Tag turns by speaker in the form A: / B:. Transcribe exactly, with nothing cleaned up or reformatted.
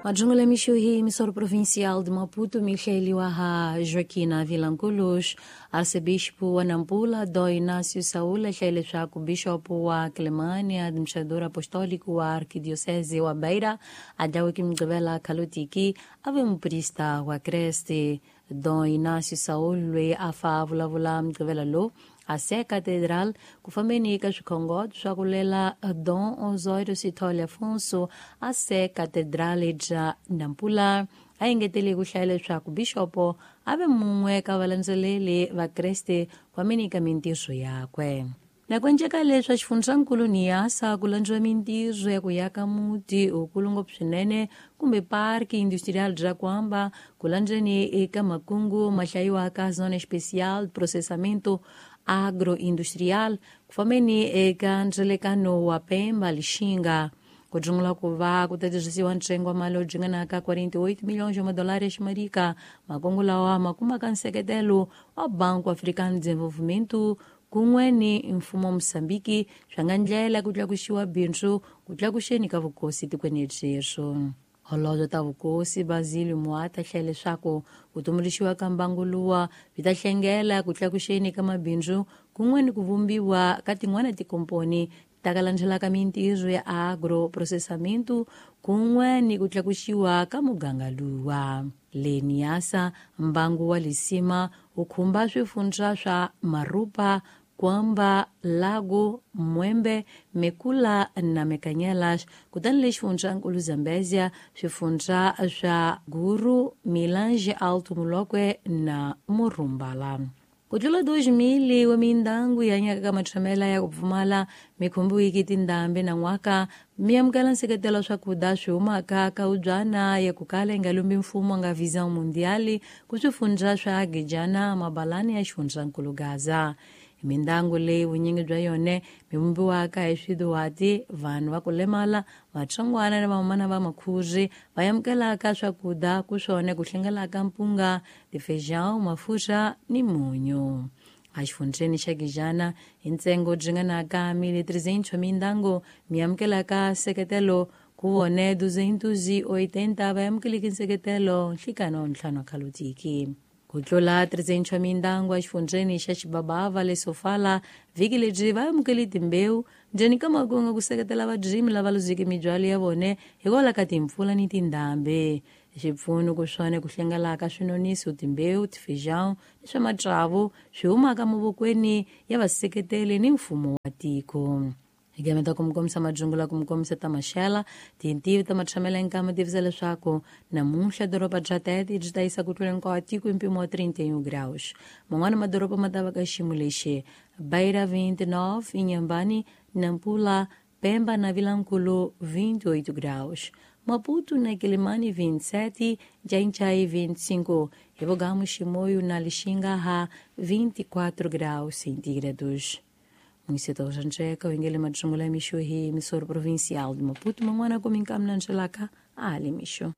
A: Majungula mixo hi emissora provincial de Maputo, Michele Waha Joaquina Vilanculos, arcebispo wa Nampula, Dom Inácio Saúl, Michele Chaco, bishopo wa Clemânia, administrador apostólico wa Arquidiocese wa Beira, Adawi Kimgabela Kalutiki, ave muprista wa Creste, Dom Inácio Saúl, lwe afa vulavula mgabela lo, a Sé Catedral, kufamenika swikhongoto swa ku lela Dom Osório Sithole Afonso a Sé Catedral bya Nampula. A engetele ku hlaya leswaku bixopo a ve mun'we ka valandzeleri va Kreste kwamenika mintirho yakwe. Na ku enceka leswi xifundzankulu Niassa ku landziwa mintirho ya ku yaka muti wukulu ngopfu swinene kumbe parki industrial bya Kwamba ku landzeni eka makungu ma hlayiwaka Zona Especial de Processamento Agroindustrial ku fambeni eka ndzelekano wa Pemba Lixinga. Ku dzungula ku va ku ta tirhisiwa ntsengo wa mali lowu dzinganaka quarenta e oito milhões de dólares marika. Makungu lawa ma kumaka nseketelo wa Banco Africano de Desenvolvimento kun'we ni mfumo wa Mozambique swa nga ndlela ku tlakuxiwa bindzu ku tlakuxeni ka vukosi tikweni byeswo. Holobye ta vukosi Basilio Muata hlaya leswaku ku tumbuluxiwa ka mbangu luwa byi ta hlengela ku tlakuxeni ka mabindzu kun'we ni ku vumbiwa ka tin'wana tikomponi ta ka landzelaka mintirho ya agroprocessamento kun'we ni ku tlakuxiwa ka muganga luwa. Le Niassa, mbangu wa Lisima wu khumba swifundza swa Marupa, Kwamba, Lago, Mwembe, Mekula na Mekanyelas, kutani le xifundzankulu Zambezia swifundza swa Guru, Milange, Alto Molokwe na Murumbala. Ku tlula dois mil wa mindyangu yi hanyaka ka matshamela ya ku pfumala mi khumbiwiki tindhambi nan'waka mi amukela nseketelo wa swakudya swi humaka ka ubyana ya ku kala yi nga lumbi mfumo nga Visão Mundial ku swifundza swa Gijana, Mabalani ya xifundzankulu Gaza. Mindyangu leyi vunyingi bya yona mi vumbiwaka hi swiduhati, vanhu va ku lemala, vatsongwana na vamana va makhuri va amukelaka swakudya ku swona ku hlengelaka mpunga, tifeijão, mafurha ni munyu. Exifundzeni xa Gijana hi ntsengo dzinganaka mil e trezentos mindyangu mi amukelaka nseketelo ku vone duzentos e oitenta va amukeleki nseketelo nhlikani wa ntlhanu wa Kalutiki. Ku tlula trezentos mindyangu exifundzeni xa Xibabava le Sofala vhiki lebyi va amukele timbewu ndzeni ka makungu ku seketela vadyimi lava luzeke mibyalo ya vona hikwalaho ka timpfula ni tindhambi. Swipfuno ku swona ku hlengelaka swinoniso, timbewu, tifeijão ni swa matsavu swi humaka mavokweni ya vaseketeli ni mfumo wa tiko. Hi gameta ku mi kombisa majungula ku mi kombisa ta maxela tintivi ta matshamela nkama tivisa leswaku namuntlha doroba bya Tete byi ta yisa ku tlula hinkwawo tiko hi mpimo wa trinta e um graus. Man'wana madoroba ma ta va ka xiyimo lexi: Beira vinte e nove, Inhambane, Nampula, Pemba na Vilanculo vinte e oito graus, Maputo na Quelimane vinte e sete, Xai-Xai vinte e cinco, Revogamo Chimoio na Lixinga ha vinte e quatro graus centígrados. Município de Jancheca, o Ingele Majungula Mixo, emissora provincial de Maputo, Manguana, Comincam, Nangelaka, Ali Mixo.